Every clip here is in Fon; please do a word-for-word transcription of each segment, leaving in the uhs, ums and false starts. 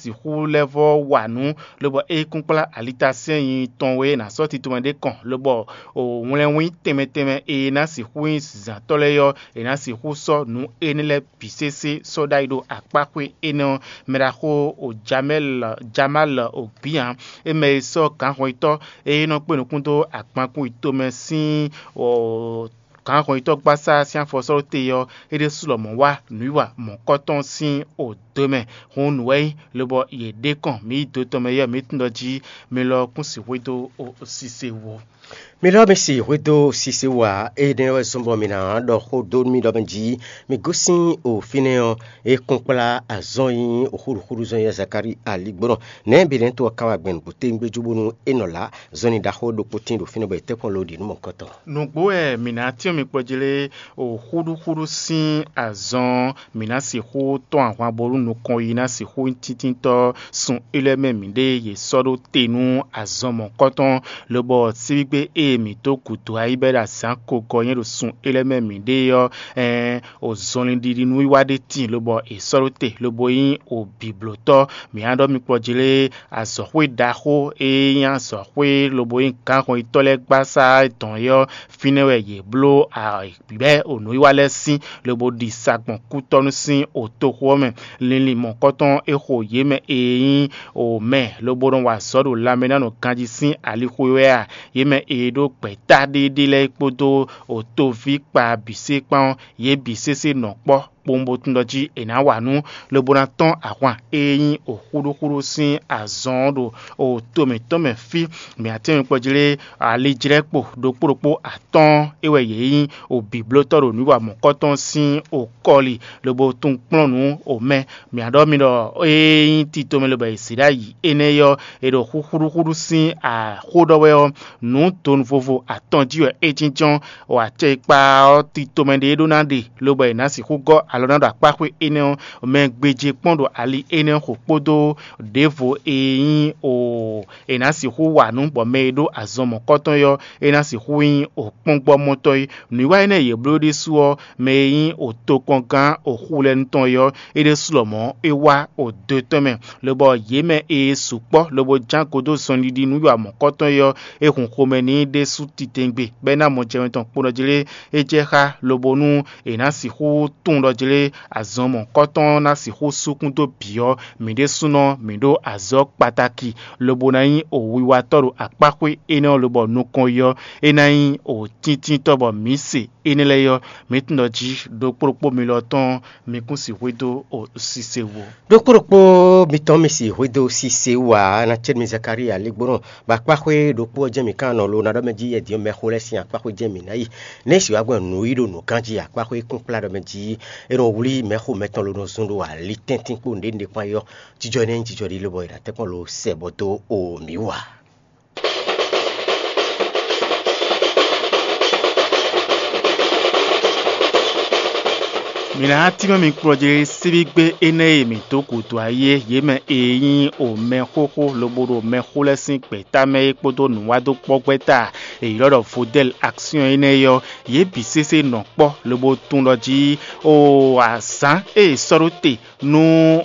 sixú lɛ́ vɔ́ wa nǔ, lobɔ é kún kplá alitasɛ́nyi tɔn wɛ ná sɔ́ tito mɛ ɖé kɔn, lobɔ wlɛnwín tɛnmɛ tɛnmɛ e ná sixú nyí zǎntɔ́ lɛ́ɛ ɔ́, è nǎ sixú sɔ́ nǔ énɛ́ lɛ́ɛ bǐ sésé sɔ́ ɖ'ayǐ ɖo akpáxwé énɛ́ ɔ́ mɛ ɖaxó Jamalɔ Ògbían, é mɛ e sɔ́ gǎnhɔnyitɔ́ e nɔ kpé nukún dó agbankún yětɔn mɛ sín gǎnhɔnyitɔ́gbasá sín afɔsɔ́ɖóte ɔ́, é ɖésú lɔmɔ̌ wá nǔwiwa mɔ̌kɔ́tɔn sín odǒ mɛ. Hǔn nǔ wɛ é nyí, lobɔ yě ɖe kɔn mǐ yi do tɔn mɛ yɛ mǐ tunwun ɖɔ jí mi lɔ kún sixú dó sise wo. Mi lɔ mi si hwedó sise wú ǎ, énɛ́ wɛ zɔ́n bɔ mi ná ɖɔ xó dó nú mì ɖɔ mɛ jí mi gosín o fínɛ́ ɔ́, é kún kplá azɔn e nyí xúɖuxúɖu zɔn e Zakalíi aligbɔnɔ nɛ̌ Belenɛ́to ɔ́ ka wá gbɛn nǔgbó tewungbe jú bónú é nɔ lá zɔnlin ɖaxó ɖokpó tíin ɖo fínɛ́ bɔ è tɛ́ kpɔ́n ló ɖi nǔ mɔ̌kɔtɔn. Nǔgbó wɛ mǐ ná cyɔ́n mi kpɔ́ jí lé, o xúɖuxúɖu sín azɔn mǐ ná sixú tɔ́n ahwan bónú nukɔn yi ná sixú nyí tíntínntɔ́ sun élɔ́ mɛ mǐɖée yě sɔ́ ɖó te nú azɔn mɔ̌kɔtɔn, lobɔ síbígbe e mǐ dó gǔdo ayí bɔ é ɖo azǎn kogɔ nyɛ ɖo sun élɔ́ mɛ mǐɖée ɔ́, ɛɛn o zɔnlin ɖiɖi nú wiwa ɖé tíin lobɔ è sɔ́ ɖó te lobo nyí o bǐblótɔ́. Mǐ ná ɖɔ mi kpɔ́ jí lé, azɔ̌xwé ɖaxó e nyí azɔ̌xwé lobo nyí gǎnhɔnyitɔ́ lɛ́ɛ gbasá dɔn é ɔ́, fínɛ́ wɛ yě bló bɛ́ o nǔwiwa lɛ́ɛ sín, lobo ɖi sa gbɔn kútɔ́nú sín o toxo ɔ́ mɛ. Linlin mɔ̌kɔtɔn e xo yě mɛ e nyí o mɛ lobo nɔ wa azɔ̌ ɖo lanmɛ ná nɔ ganjí sín alixo é wɛ a? Yě mɛ e ɖó gbɛ̌ta ɖéeɖée lɛ́ɛ kpódó o toví kpa bǐ sé kpán ɔ́, yě bǐ sésé nɔ kpɔ́ kpowun bó tunwun ɖɔ jí è nǎ wa nǔ, lobo ná tɔ́n ahwan e nyí o xúɖúxúɖú sín azɔn ɔ́ ɖo o to mǐtɔn mɛ fí. Mǐ atɛ́nwun kpɔ́ jí lé, alijlɛ́kpo ɖokpó ɖokpó atɔ́ɔ́n é wɛ yě nyí o bǐblótɔ́ ɖo nǔ wa mɔ̌kɔtɔn sín o kɔli, lobo tunwun kplɔ́n nǔ o mɛ. Mǐ ɖɔ mi ɖɔ ée nyí tito mɛ lobɔ è zě ɖ'ayǐ énɛ́ ɔ́, è ɖo xúxúɖúxúɖú sín axó ɖɔ wɛ ɔ́, nǔ donu vovo atɔn jí wɛ é jínjɔ́n. Acɛkpa ɔ́, tito mɛ ɖé ɖó ná ɖe, lobɔ è nǎ sixú gɔ́ alɔ ná ɖo akpáxwé énɛ́ ɔ́ mɛ gbéjé kpɔ́n ɖo ali énɛ́ xo kpódó ɖěvo e nyí o è nǎ sixú wa nǔ bɔ mɛ e ɖó azɔn mɔ̌kɔtɔn é ɔ́, é ná sixú nyí o kpɔ́ngbɔ́mɔtɔ́ é. Nǔwiwa énɛ́ e yě bló ɖésú ɔ́, mɛ e nyí o tokpɔngán o xu lɛ́ɛ nu tɔn é ɔ́, é ɖésú lɔmɔ̌ é wá o do tɔn mɛ, lobɔ yě mɛ e sukpɔ́ lobo ján godó zɔnɖiɖi nú wiwa mɔ̌kɔtɔn é ɔ́, é hun xomɛ n'i ɖésú titewungbe, bɔ é ná mɔ jɛmɛ tɔn kponɔ jí lé. É jɛ xá lobo nú è nǎ sixú tunwun ɖɔ jí lé azɔn mɔ̌kɔtɔn ná sixú súkún dó bǐ ɔ́, mǐ ɖésúnɔ mǐ ɖó azɔ̌ kpataki, lobo ná nyí o wiwatɔ́ ɖo akpáxwé énɛ́ ɔ́ lobɔ nukɔn yi ɔ́, é ná nyí o tíntínntɔ́ bɔ mǐ se énɛ́ lɛ́ɛ ɔ́, mǐ tunwun ɖɔ jí ɖokpó ɖokpó mi lɔ tɔn mi kún sixú dó o sise wo. Ɖokpó ɖokpó mitɔn mi si hwedó sise wú ǎ, ná cɛ́ mi Zakalíi aligbónɔ, bɔ akpáxwé ɖokpó ɔ́ jɛ́n mǐ kan nɔ lo ná ɖɔ mɛ jí yɛdin ɔ́ mɛxó lɛ́ɛ sín akpáxwé jɛ́n mǐ ná yi. Nɛ̌ si wá gbɔn nǔ yí ɖo nǔ ganjí akpáxwé kún kplá ɖɔ mɛ jí é nɔ wlí mɛxó mɛtɔn lo nɔ zun ɖo ali tɛ́ntin kpó nǔɖé nǔɖé kpán yi ɔ́, jijɔ énɛ́ nyí jijɔ ɖi lobɔ è nǎ tɛ́nkpɔ́n lo sɛ bɔ dó o mǐ wú ǎ. Mǐ ná tínmɛ mi kplɔ́ jí síbígbé énɛ́ e mǐ dó gǔdo ayé yě mɛ e nyí o mɛxóxó lobo ɖo mɛxó lɛ́ɛ sín gbɛ̌ta mɛ é kpódó nǔwádókpɔ́gbɛ́ta e ylɔ́ ɖɔ Vodɛ́l Aksiyɔn énɛ́ é ɔ́, yě bǐ sésé nɔ kpɔ́ lobo tunwun ɖɔ jí o azǎn e è sɔ́ ɖó te nú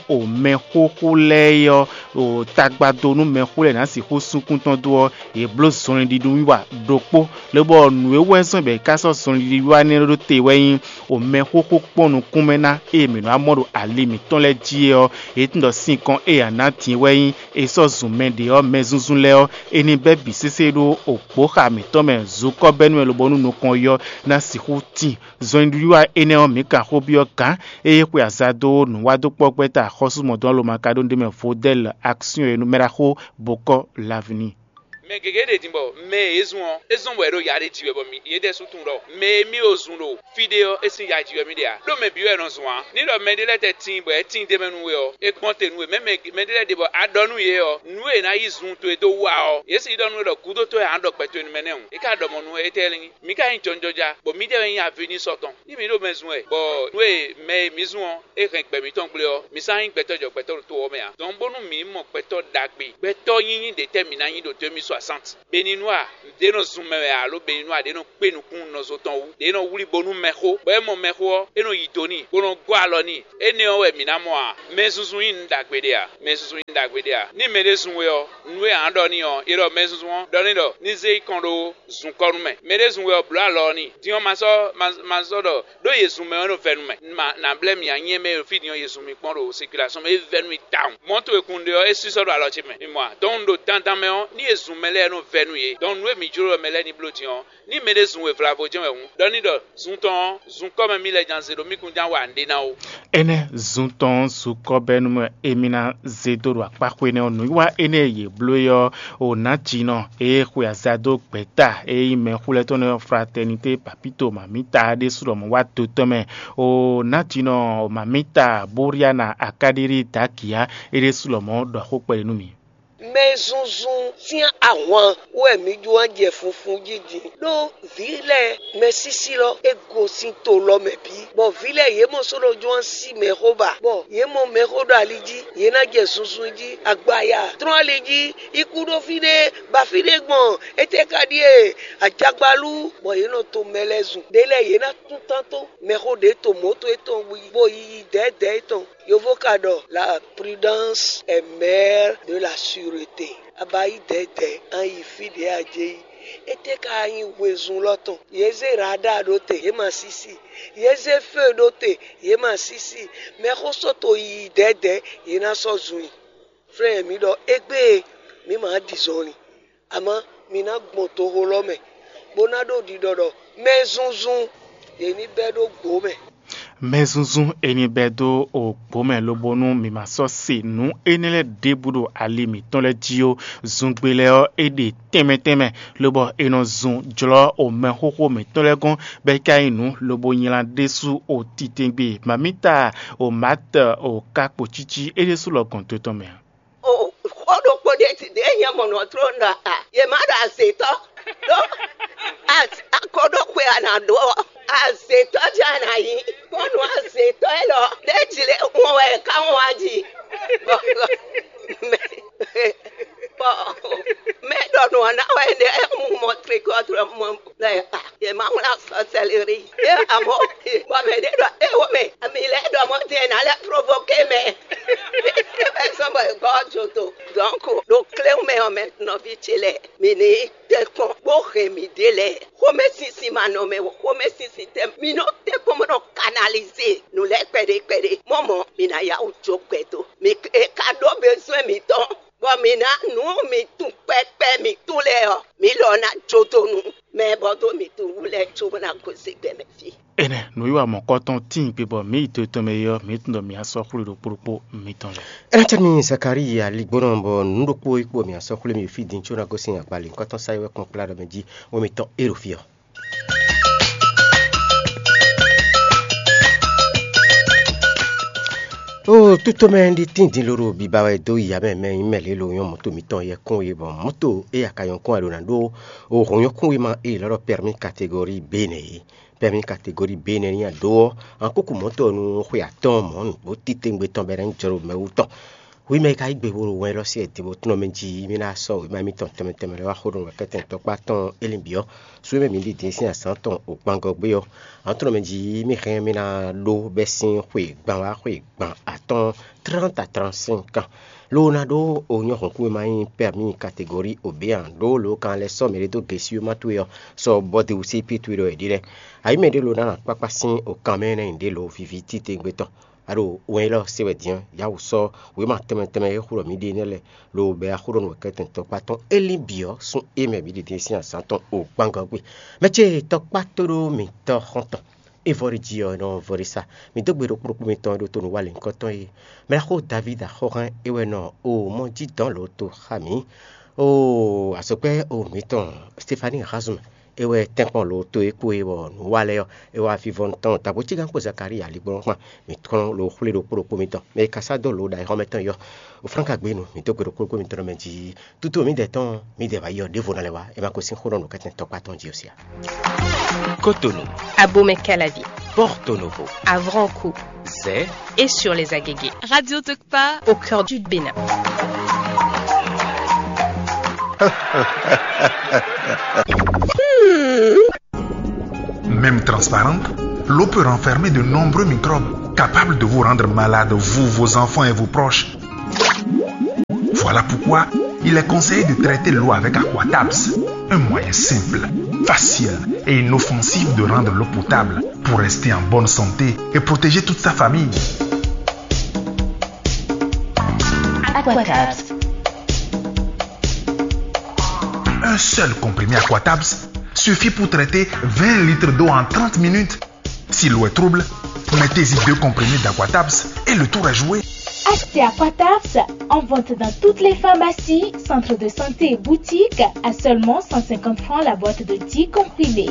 o mɛxóxó lɛ́ɛ é ɔ́, o tagbado nú mɛxó lɛ́ɛ ná sixú súnkún tɔn dó ɔ́, yě bló zɔnlin wiwa ɖokpó, lobɔ nǔ e wɛ zɔ́n bɔ è ká sɔ́ zɔnlin wiwa énɛ́ ɖó te wɛ nyí o mɛxóxó kpɔ́n nukún mɛ ná e mǐ nɔ wá mɔ ɖo ali mǐtɔn lɛ́ɛ jí é ɔ́, yě tunwun ɖɔ sinkɔn e a nǎ din wɛ nyí è sɔ́ zun mɛ ɖě ɔ́ mɛ zúnzún lɛ́ɛ ɔ́, è nǐ bɛ́ bǐ sésé ɖó o gbǒxa mǐtɔn mɛ zukɔ́bɛ́nú wɛ lobo nú nukɔn yi ɔ́ ná sixú tíin. Zɔnlin wiwa énɛ́ ɔ́, mǐ kan xó byɔ́ gǎn e xwe aza dó nǔwádókpɔ́gbɛ́ta axɔ́súmɔdɔn Lomaka ɖó ɖ'é mɛ Vodɛ́l Aksiyɔn e nú mɛ ɖaxó Bokɔ́ Lavini. Mɛ gěgé ɖe din bɔ mɛ e é zun ɔ́, é zɔ́n bɔ è ɖo ya ɖé ji wɛ bɔ mǐ yě ɖɛ́sú tunwun ɖɔ mɛ e mì o zun ɖo fí ɖé ɔ́, é sín ya ji wɛ mì ɖe ǎ. Ɖó mɛ bǐ wɛ è nɔ zun ǎ. Ní ɖɔ mɛɖé lɛ́ɛ tɛ tíin bɔ é tíin d'é mɛ nú we ɔ́, é kpɔ́n te nú we. Mɛ̌ mɛ mɛɖé lɛ́ɛ ɖe bɔ a ɖɔ nú yě ɔ́, nǔ e è nǎ yí zun towe dó wa ɔ́, yě sixú ɖɔ nú we ɖɔ gǔdo towe ǎ nɔ ɖɔ gbɛ towe nú mɛ nɛ́ hǔn. É ka ɖɔ mɔ̌ nú we étɛ́ lɛ́ɛ nyí. Mǐ ka nyí jɔnjɔja, bɔ mǐdɛɛ wɛ nyí avi nú sɔ́ tɔn. Ní mǐ ɖo mɛ zun wɛ, bɔ nú e mɛ e mǐ zun ɔ́, é hɛn gbɛ mǐtɔn gblé ɔ́, mǐ sán nyí gbɛtɔ́ jɔ gbɛtɔ́ ɖo to ɔ́ mɛ ǎ. Dɔn bónú mǐ mɔ gbɛtɔ́ ɖagbe, gbɛtɔ́ nyínyí ɖě tɛ́ mǐ ná nyí ɖo tó émí Passante. Beninois ɖě nɔ zun mɛ wɛ alo Beninois ɖě nɔ kpé nukún nɔzo tɔn wú, ɖě nɔ wlí bo nú mɛxó, bɔ é mɔ mɛxó ɔ́, é nɔ yi do n'i, bó nɔ gɔ́ alɔ n'i. Énɛ́ ɔ́ wɛ mǐ ná mɔ a? Mɛ zunzun nyí nǔ ɖagbe ɖé a? Mɛ zunzun nyí nǔ ɖagbe ɖé a? Ní mɛɖé zun we ɔ́, nǔ e a nǎ ɖɔ n'i ɔ́, è ɖɔ mɛ zunzun ɔ́ ɖɔ n'i ɖɔ ní zé yi kɔn ɖó zunkɔ́ nú mɛ. Mɛɖé zun we ɔ́, blǒ alɔ ɔ́ n'i. Din ɔ́, ma sɔ́ ma ma sɔ́ ɖɔ ɖó Yezu mɛ ɔ́ nɔ vɛ́ nú mɛ. Ma ná blɛ́ mì ǎ, nyɛ mɛ e ɖo fí din ɔ́, Yezu mi kpɔ́n ɖo sɛkulasɔ́n mɛ, é vɛ́ nú mì tawun. Mɔ̌to e kun ɖe ɔ́, é sísɔ́ ɖo alɔ ce mɛ. Mi mɔ a? Dɔn un ɖo dandan mɛ ɔ́, ní Yezu mɛ lɛ́ɛ nɔ vɛ́ nú yě. Dɔn nǔ e mǐ jló ɖɔ mɛ lɛ́ɛ ní bló din ɔ́, ní mɛɖé zun wěvlavo jɛ́n wɛ hǔn, ɖɔ ní ɖɔ zun tɔn ɔ́, zunkɔ́ mɛ mì lɛ́ ján zé ɖó mì kún ján wa nǔɖé ná ó. Énɛ́ zun tɔn ɔ́, zunkɔ́ bɛ́ nú mɛ e mi ná zé dó ɖo akpáxwé nɛ́ ɔ́, nǔwiwa énɛ́ e yě bló é ɔ́, o nǎjínɔ e xwe aza dó gbɛ̌ta e nyí mɛxúlɛ́tɔ́ nɛ́ ɔ́, Fraternité Papito Mamita ɖésú lɔmɔ̌ wá do tɔn mɛ. O nǎjínɔ Mamita Boriana Akadiri Dakia é ɖésú lɔmɔ̌ ɖɔ xó kpɛɖé nú mì. Mɛ zunzun sín ahwan wɛ mǐ jló ná jɛ funfun jí din, ɖó vǐ lɛ́ɛ mɛsísí lɔ é gosín to lɔ mɛ bǐ, bɔ vǐ lɛ́ɛ yě mɔ sɔ́ nɔ jló ná sí mɛxó ba, bɔ yě mɔ mɛxó ɖo ali jí, yě ná jɛ zunzun jí, agbaya tlɔ́n ali jí, yi kú ɖó fínɛ́, ba fínɛ́ gbɔn, étɛ́ ka ɖíe, ajagbalú, bɔ yě nɔ to mɛ lɛ́ɛ zun. Ɖě lɛ́ɛ yě ná tún tántɔn mɛxó ɖě to mɔ̌to étɔn bó yi dɛ̌dɛ̌ étɔn. Yovo ka ɖɔ la prudence est mère de la sûreté. A ba yí dɛ̌dɛ̌ a yi fí ɖě a jɛ yi. Étɛ́ ka nyí wezun lɔ tɔn? Yě zé radar ɖó te, yě ma sísí. Yě zé feu ɖó te, yě ma sísí. Mɛxó sɔ́ to yiyi dɛ̌dɛ̌, yě ná sɔ́ zun i. Flɛ́n mǐ ɖɔ égbé e mǐ ma ɖi zɔnlin, amɔ̌ mǐ ná gbɔn toxo lɔ mɛ, bó ná ɖo ɖiɖɔ ɖɔ mɛ zunzun yě ní bɛ́ ɖó gbǒ mɛ. Mɛzunzun e ní bɛ́ dó gbǒ mɛ lobo nú mǐ ma sɔ́ se nǔ énɛ́ lɛ́ɛ ɖěbǔ ɖo ali mǐtɔn lɛ́ɛ jí ó. Zungbe lɛ́ɛ ɔ́, é ɖe tɛnmɛ tɛnmɛ, lobɔ è nɔ zun jlɔ́ o mɛxóxó mǐtɔn lɛ́ɛ gɔ́n, bɔ é ka nyí nǔ lobo nylá ɖésú o titewungbe. Mamita o Mátɛ o ka kpo cící é ɖésú lɔ gɔn to tɔn mɛ ǎ. O xó ɖokpó ɖé ti ɖě nyɛ mɔ nɔ tló ɖɔ a yě má ɖo azětɔ ɖó akɔ ɖó xwe a nǎ ɖó ɔ́, azětɔ jɛ a nǎ nyí. Bɔnu azětɔ élɔ́ ɖé jlé wɔn wɛ ká wɔn wá jí. Bɔ mɛ bɔ mɛ ɖɔ nǔ ɔ́ ná wɛ ɖé mu mɔ trikɔtrɔ mɔ lɛ a yě má wlá sɔsɛlɛri yě amɔ bɔ mɛ ɖé ɖɔ é wo mɛ ami lɛ ɖɔ mɔ din ná lɛ provoke mɛ. Bɛ sɔn bɔ gɔ́ jodo. Donc ɖo kléwún mɛ ɔ́ mɛ nɔví ce lɛ mǐ ní tɛ kpɔn bó hɛn mǐɖée lɛ́ɛ. Xómɛsinsin ma nɔ mɛ o, xómɛsinsin tɛ mǐ nɔ tɛ kpɔn bó nɔ kanalize nǔ lɛ́ɛ kpɛɖé kpɛɖé. Mɔ mɔ̌ mǐ ná yá wǔ jó gbɛdó. Mǐ e ka ɖó bezwɛn mǐtɔn, bɔ mǐ ná nǔ mǐ tun kpɛkpɛ mǐ tun lɛ́ɛ ɔ́, mǐ lɔ ná jó dó nú mɛ e bɔ dó mǐ tun wú lɛ́ɛ cóbó ná gosín gbɛ mɛ fí. Énɛ́ nǔwiwa mɔ̌kɔtɔn tíin gbe bɔ mǐ yi to tɔn mɛ é ɔ́, mǐ tunwun ɖɔ mǐ á sɔ́ xwlé ɖokpó ɖokpó mitɔn lɛ́ɛ. Énɛ́ cɛ́ nú Zakalíi aligbónɔ bɔ nǔ ɖokpó é kpo mǐ á sɔ́ xwlé mì fí din có ná gosín agbalǐ nukɔntɔn sa e wɛ kpɔ́n kplá ɖɔ mɛ jí wɛ mitɔn é ɖo fí ɔ́. O tútomɛ ɖé tín din lóɖo biba wɛ dó yi amɛ mɛ nyí mɛ lě lo nyɔ́ mɔ̌to mitɔn yɛkún e bɔ mɔ̌to e aka nyɔ́kún wɛ ɖo ná ɖó o hɔn nyɔ́kún e ma e lɔ́ ɖɔ pɛrmí kategori B nɛ́ é. Pɛ́mí kategori B nɛ́ ní a ɖǒ ɔ́, an kúkú mɔ̌ tɔn nú xwe atɔ́ɔ́n mɔ̌ nǔgbó titewungbe tɔn bɔ é ná nyí jlǒ mɛ wú tɔn. Hwi mɛ e ka yí gbe bo ɖo wɛn élɔ́ sí wɛ din bó tlɔ́n mɛ jí mì ná sɔ́ wěma mitɔn tɛnmɛ tɛnmɛ lɛ́ɛ wá xó ɖo nǔkɛntɛn tɔkpá tɔn Elín bǐ ɔ́, sú e mɛ mǐ ɖi din sín azǎn tɔn o gbangɔ gbé ɔ́, an tlɔ́n mɛ jí mì hɛn mì ná ɖó bɛ́ sín xwe gban wá xwe gban atɔ́ɔ́n tránta tránsinkan. Lo ná ɖó o nyɔ́ hɔ̌nkúnwéma nyí pɛ́mí kategori obéan ɖó lo kan lɛ́ sɔ́ mɛɖé dó gěsíwéma towe ɔ́, sɔ bɔ́ de wǔ sí pí towe ɖɔ è ɖi lɛ́ɛ. Ayǐ mɛ ɖé lo ná nɔ akpákpá sín o kan mɛ énɛ́ nyi ɖě lo víví titewungbe tɔn. A ɖo wɛn élɔ́ se wɛ din ɔ́, yá wǔ sɔ́ wěma tɛnmɛ tɛnmɛ e xó ɖɔ mǐ ɖe énɛ́ lɛ́ɛ, lo bɛ axó ɖɔ nǔ wɛ kɛ́tɛn tɔkpá tɔn Elín bǐ ɔ́ sún é mɛ mǐ ɖi din sín azǎn tɔn o gbangɔ gbe. Mɛ ce tɔkpá tóɖó mǐtɔn xɔ́ntɔn. É vɔ ɖi jí ɔ́, é nɔ vɔ ɖi sá. Mǐ dó gbe ɖokpó ɖokpó mitɔn e ɖo to nǔ wa lěhunkɔtɔn é. Mɛɖaxó Davídi axɔ́hɛn é wɛ nɔ o mɔ jí dɔ̌n lǒ to xá mǐ. Oo, azɔ̌gbɛ́ o mǐtɔn Stefani Hazum é wɛ tɛ́nkpɔ́n lǒ to é kpo é bɔ nǔ wa lɛ́ɛ ɔ́, é wá vívɔ́ tɔn dǎgbó cígán kpó Zakalíi aligbɔnɔ kpán. Mǐ kplɔ́n lǒ xwlé ɖokpó ɖokpó mitɔn. Mɛ e ka sá dó lǒ ɖo ayǐxɔ́mɛ tɔn yi ɔ́, o flánka gbé nu, mǐ dó gbe ɖokpó ɖokpó mitɔn ɖɔ mɛ jí. Tutu mǐdɛɛ tɔn, mǐdɛɛ wá yi ɔ́, ɖěvo ná lɛ́ wá, è ma ko sín xó ɖɔ nǔkɛntɛn tɔkpá tɔn jí ɔ́ sia. Cotonou, Abomey-Calavi, Porto Novo, Avranco, Zé et sur les Agégués. Radio Tokpa au cœur du Bénin. Même transparente, l'eau peut renfermer de nombreux microbes capables de vous rendre malade, vous, vos enfants et vos proches. Voilà pourquoi il est conseillé de traiter l'eau avec Aquatabs, un moyen simple, facile et inoffensif de rendre l'eau potable pour rester en bonne santé et protéger toute sa famille. Aquatabs. Un seul comprimé Aquatabs suffit pour traiter vingt litres d'eau en trente minutes. Si l'eau est trouble, mettez-y deux comprimés d'Aquatabs et le tour est joué. Achetez Aquatabs en vente dans toutes les pharmacies, centres de santé et boutiques à seulement cent cinquante francs la boîte de dix comprimés.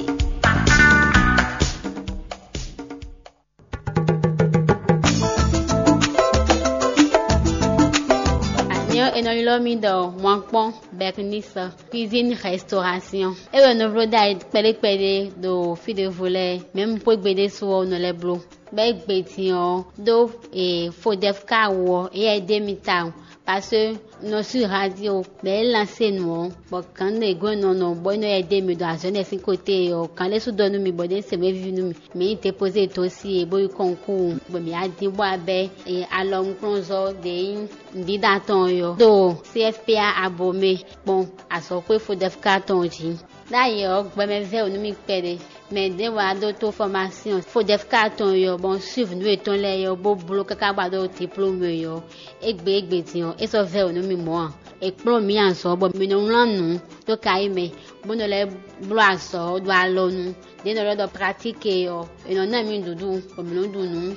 Anyɔ è nɔ ylɔ́ mì ɖɔ Wankpɔ́n Bernice Cuisine Restauration. É wɛ nɔ bló ɖ'ayǐ kpɛɖé kpɛɖé ɖo fí ɖěvo lɛ́ɛ, mɛ̌ un xwé gbe ɖésú ɔ́ nɔ lɛ́ bló. Bɔ é gbe din ɔ́ ɖó e Fodɛfka wú ɔ́, éyɛ́ é ɖe mì tawun, parce que nɔ sú radio bɔ é lansé nǔ ɔ́, bɔ gǎn ɖě gɔ́n nɔ nɔ bɔ é nɔ yɛ ɖe mì ɖo azɔ̌ énɛ́ sín kóté ɔ́, gǎn ɖé sú ɖɔ nú mì bɔ ɖě se mɛ víví nú mì. Mǐ yi dépozé dó sí e bó yi kɔnkúu, bɔ mǐ wá dín bó wá bɛ́ alɔnukplɔ́nzɔ́ ɖě nyí nǔɖíɖá tɔn ɔ́ ɖo C F P A abo mɛ kpɔ́n azɔ̌xwé Fodɛfka tɔn jí. Ɖ'ayǐ ɔ́, gbɛmɛ vɛ́ wǔ nú mì kpɛɖé. Mɛ ɖěvo wá ɖó tó fɔmásyɔn Fodɛfka tɔn ɔ́, bɔ un suiv nǔ yětɔn lɛ́ɛ ɔ́, bó bló káká bó wá ɖó diplómu ɔ́. Égbé égbé din ɔ́, é sɔ́ vɛ́ wǔ nú mì mɔ̌ ǎ. È kplɔ́n mǐ azɔ̌ bɔ mǐ nɔ wlán nǔ dó kayí mɛ, bó nɔ lɛ́ bló azɔ̌ ɖo alɔnu. Ɖě nɔ lɛ́ ɖɔ pratíki ɔ́, è nɔ ná mì nǔɖuɖu, bɔ mǐ nɔ ɖu nǔ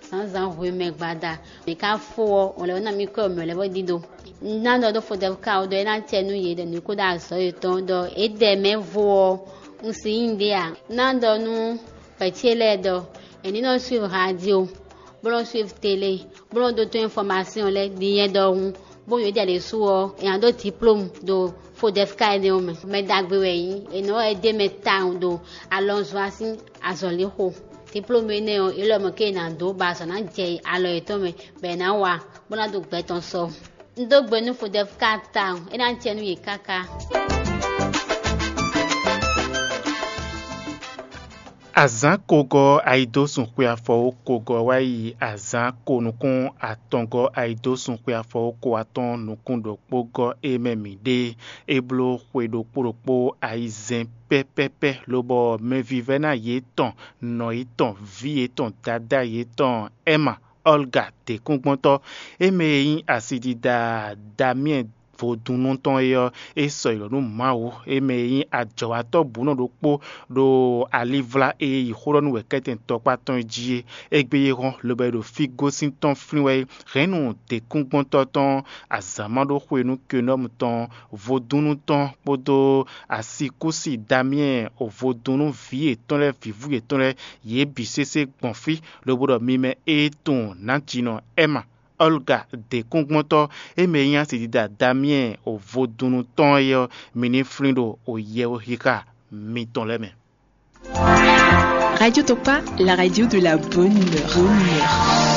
zǎnzǎn hwemɛ gbada. Mǐ ka fó ɔ́, wǒn lɛ́ ná mì kɔ́ mǐ lɛ́ bó ɖíɖó. Un ná ɖɔ ɖó Fodɛfka ɔ́ ɖɔ é ná acɛ nú yě ɖɔ nǔ kó ɖo azɔ̌ yětɔn ɖɔ é ɖɛ mɛ vo ɔ́, un si nyí ɖé ǎ. Un ná ɖɔ nú vɛ̌ ce lɛ́ɛ ɖɔ è ní nɔ suiv radio, bó nɔ suiv tele, bó nɔ ɖótó infɔmasyɔn lɛ́ɛ ɖi nyɛ ɖɔhun, bó nyɔ̌ jɛ ɖě su ɔ́, è nǎ ɖó diplómu ɖo Fodɛfka énɛ́ ɔ́ mɛ. Mɛ ɖagbe wɛ é nyí, è nɔ wɛ é ɖe mɛ tawun ɖo alɔnzɔ́ sín azɔ̌lixo. Diplómu énɛ́ ɔ́, é lɔ mɔ̌ ké è nǎ dó bɔ azɔ̌ ná jɛ alɔ yětɔn mɛ, bɔ è nǎ wa, bó ná ɖo gbɛ tɔn sɔ. Un dó gbe nú Fodɛfka tawun, é ná jɛ nú yě káká. Azǎn kogɔ́ ayidósun xwe afɔwú kogɔ́ wá yi azǎn ko nukún atɔngɔ́ ayidósun xwe afɔwú ko atɔ́ɔ́n nukún ɖokpó gɔ́ é mɛ mǐ ɖe. É bló xwe ɖokpó ɖokpó ayizɛ́n pɛ́pɛ́pɛ́, lobɔ mɛvívɛ́ná yětɔn, nɔ yětɔn, vǐ yětɔn, dadá yětɔn Ɛma Ɔlga děkúngbɔ́ntɔ́, é mɛ e nyí asidida Damiɛn vodúnnú tɔn é ɔ́, é sɔ́ yi lɔ̌ nú Mawu, é mɛ e nyí ajɔ̌watɔ́ bǔnɔ ɖokpó ɖo alivlá e yi xó ɖɔ nú wɛ̌kɛ́tɛn tɔkpá tɔn é jí é. Égbé é hɔn, lobo yi ɖo fí gosín tɔn flín wɛ é. Hɛ̌nnu děkúngbɔ́ntɔ́ tɔn, azǎn ma ɖó xwe nú Kenɔ́mu tɔn, vodúnnú tɔn kpódó asikúsi Damiɛn vodúnnú vǐ yětɔn lɛ́ɛ, vǐvú yětɔn lɛ́ɛ, yě bǐ sésé gbɔn fí, lobo ɖɔ mi mɛ e tunwun nǎjinɔ Ɛma Ɔlga děkúngbɔ́ntɔ́, é mɛ e nyí asidida Damiɛn vodúnnú tɔn é ɔ́, mi ní flín ɖo yɛwúxixa mitɔn lɛ́ɛ mɛ. Radio Tokpa, la radio de la bonne humeur. Bonne humeur.